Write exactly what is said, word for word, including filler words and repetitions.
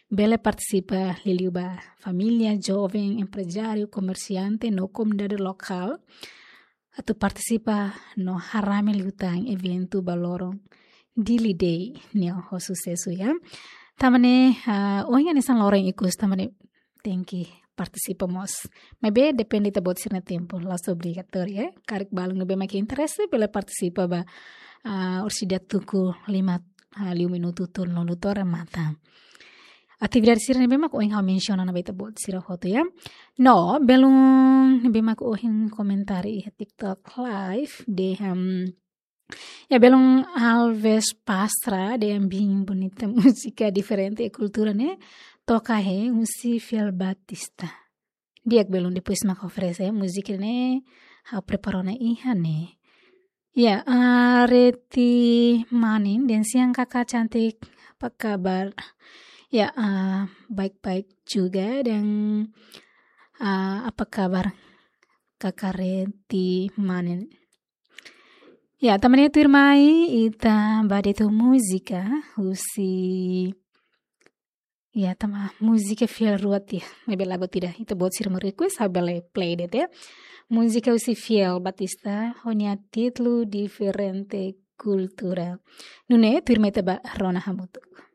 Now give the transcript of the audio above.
bele partisipa liuliu ba família, joven, emprezáriu, komersiante no komunidade lokál atu partisipa no harame liután eventu ba loron Dili Day nian ho susesu, ya. Tanba ne'e, ah, ohin hanesan loron ikus, tanba ne'e tenke partisipa mós. Maibé depende ita-boot sira-nia tempu, la'ós obrigatóriu, ya. Karik balun ne'ebé mak interese bele partisipa ba, ah, orsida tuku lima, ah, liu minutu tolunulu to'o remata. Atividade sira ne'ebé mak ohin ha'u mensiona ona ba ita-boot sira hotu, ya. No, belun ne'ebé mak ohin komentáriu iha TikTok Live dehan, ya, belun Alves Pastra dehan bem bonita múzika diferente e kultura ne'e toka hela husi Fiel Batista. Di'ak, belun, depois mak oferese múzika ne'e, ha'u prepara ona iha ne'e. Ya, ah, Reti Manin dehan siang kakak cantik, apa kabar? Ya, ah, baik-baik juga dan, ah, apa kabar kakak Reti Manin? Ya, tanba ne'e tuirmai ita ba de'it ho múzika husi, ya, tanba múzika fiar ruat ya. Maibé lagu ida ita-boot sira mak request, ha'u bele play de'it, ya. Múzika husi Fiel Batista, ho nia títulu Diferente Kultura. Nune'e tuirmai ita ba rona hamutuk.